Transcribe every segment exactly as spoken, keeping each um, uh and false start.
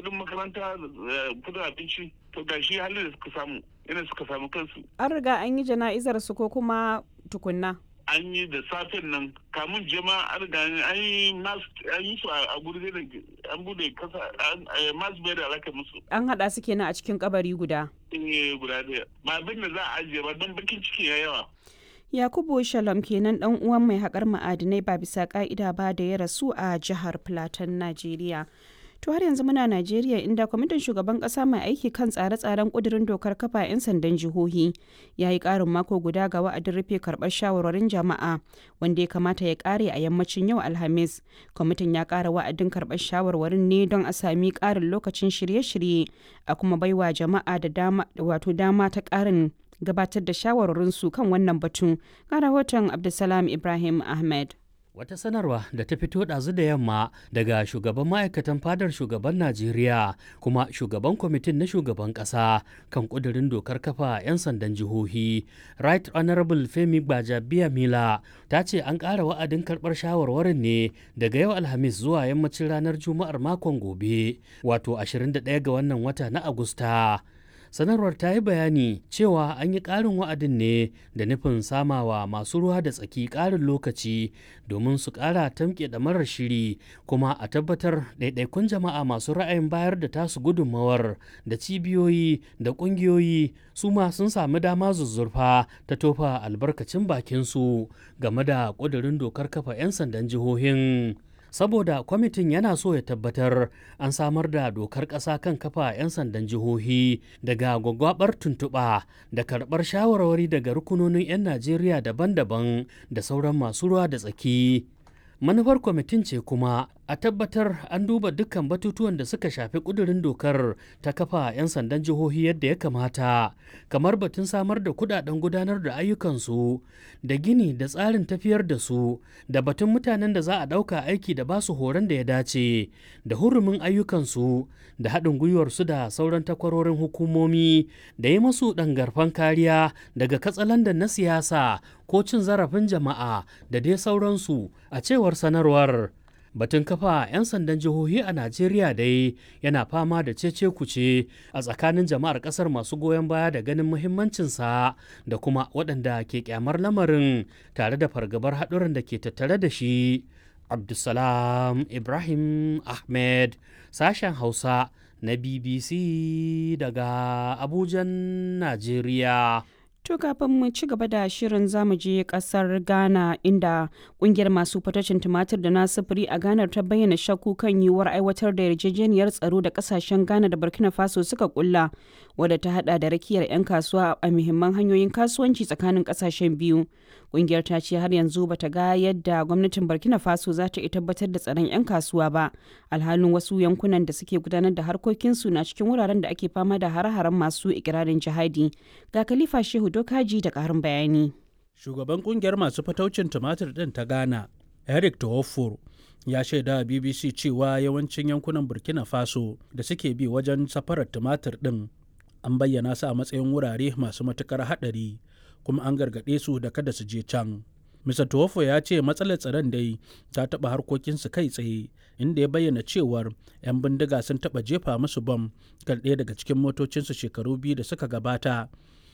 Kudin makaranta, kudin abinci, to ga shi halin da suka samu, ina suka samu kansu. An riga an yi jana'izar su ko kuma tukunna? An yi da safen nan, kamun jama'a an riga an yi mass, an yi su a guri da an bude kasa, mass burial aka musu. An haɗa su kenan a cikin kabari guda. Eh, guda ɗaya. Ba abin da za a ajiye ba don bakin ciki ya yawa. Yakubu Shalom kenan dan uwan mai haƙar ma'adinai ba bisa ƙa'ida ba da ya rasu a jihar Plateau, Najeriya. To har yanzu muna Najeriya, inda kwamitin shugaban kasa mai aiki kan tsare-tsaren kudirin dokar kafa 'yan sandan jihohi ya yi karin mako guda ga wa'adin rufe karbar shawarwarin jama'a wanda ya kamata ya kare a yammacin yau Alhamis. Kwamitin ya kara wa'adin karbar shawarwarin ne don a sami karin lokacin shirye-shirye a kuma baiwa jama'a da dama wato dama ta karin gabatar da shawarwarinsu kan wannan batun. Ga rahoton Abdulsalam Ibrahim Ahmed. Wata sanarwa da ta fito ɗazu da yamma daga shugaban ma'aikatan fadar shugaban Najeriya kuma shugaban kwamitin na shugaban ƙasa kan ƙudurin dokar kafa 'yan sandan jihohi, Right Honorable Femi Gbajabiya Mila, ta ce an ƙara wa'adin karɓar shawarwarin ne daga yau Alhamis zuwa yammacin ranar Juma'ar makon gobe, wato ashirin da ɗaya ga wannan wata na Agusta. Sanarwar ta yi bayani cewa an yi ƙarin wa'adin ne da nufin samawa masu ruwa da tsaki ƙarin lokaci domin su ƙara tamke ɗamarar shiri, kuma a tabbatar ɗaiɗaikun jama'a masu ra'ayin bayar da tasu gudunmawar da cibiyoyi da ƙungiyoyi su ma sun sami dama zuzzurfa ta tofa albarkacin bakinsu game da ƙudurin dokar kafa 'yan sandan jihohin. Saboda kwamitin yana so ya tabbatar an samar da dokar ƙasa kan kafa 'yan sandan jihohi daga gwagwabar tuntuɓa da karɓar shawarwari daga rukunonin 'yan Najeriya daban-daban da sauran masu ruwa da tsaki. Manufar kwamitin ce kuma a tabbatar an duba dukkan batutuwan da suka shafi kudurin dokar ta kafa 'yan sandan jihohi yadda ya kamata, kamar batun samar da kudaden gudanar da ayyukansu da gini da tsarin tafiyar da su, da batun mutanen da za a ɗauka aiki da basu horon da ya dace, da hurumin ayyukansu, da haɗin gwiwarsu da sauran takwarorin hukumomi, da yi masu ɗangarfan kariya daga katsalandan na siyasa ko cin zarafin jama'a da dai sauransu, a cewar sanarwar. Batun kafa 'yan sandan jihohi a Najeriya dai yana fama da cece kuce a tsakanin jama'ar kasar, masu goyon baya da ganin muhimmancinsa da kuma waɗanda ke kyamar lamarin tare da fargabar haɗuran da ke tattare da shi. Abdulsalam Ibrahim Ahmed, sashen Hausa na B B C daga Abujan, Najeriya. To kafin mu ci gaba da shirin, zamu je kasar Ghana, inda kungiyar masu fatacin tumatir da na sufuri a Ghana ta bayyana shakku kan yiwuwar aiwatar da yarjejeniyar tsaro da kasashen Ghana da Burkina Faso suka kulla, wadda ta hada da rakiyar 'yan kasuwa a muhimman hanyoyin kasuwanci tsakanin kasashen biyu. Kungiyar ta ce har yanzu bata ga yadda gwamnatin Burkina Faso za ta iya tabbatar da tsaron 'yan kasuwa ba, alhalin wasu yankunan da suke gudanar da harkokinsu na cikin wuraren da ake fama da hare-haren masu ikirarin jihadi. Ga Khalifa Shehu Dokaji da ƙarin bayani. Shugaban kungiyar masu fataucin tumatir ɗin ta Ghana, Eric Tohofor, ya shaida a B B C cewa yawancin yankunan Burkina Faso da suke bi wajen safarar tumatir ɗin an bayyana su a matsayin wurare masu matukar haɗari, kuma an gargaɗe su da kada su je can. Mister Tuwafo ya ce matsalar tsaron dai ta taɓa harkokinsu kai tsaye, inda ya bayyana cewar 'yan bindiga sun taɓa jefa musu bam kan ɗaya daga cikin motocinsu shekaru biyu da suka gabata,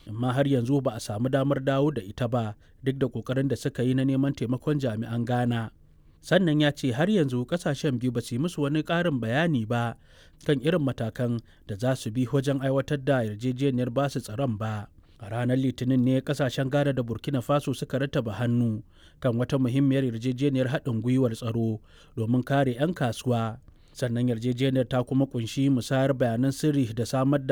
amma har yanzu ba a samu damar dawo da ita ba duk da kokarin da suka yi na neman taimakon jami'an Ghana. Sannan ya ce har yanzu kasashen biyu ba su yi musu wani ƙarin bayani ba kan irin matakan da za su bi wajen aiwatar da yarjejeniyar basu tsaron ba. A ranar Litinin ne kasashen Ghana da Burkina Faso suka rattaba hannu kan wata muhimmiyar yarjejeniyar haɗin gwiwar tsaro domin kare 'yan kasuwa. Sannan yarjejeniyar ta kuma kunshi musayar bayanan sirri da samar da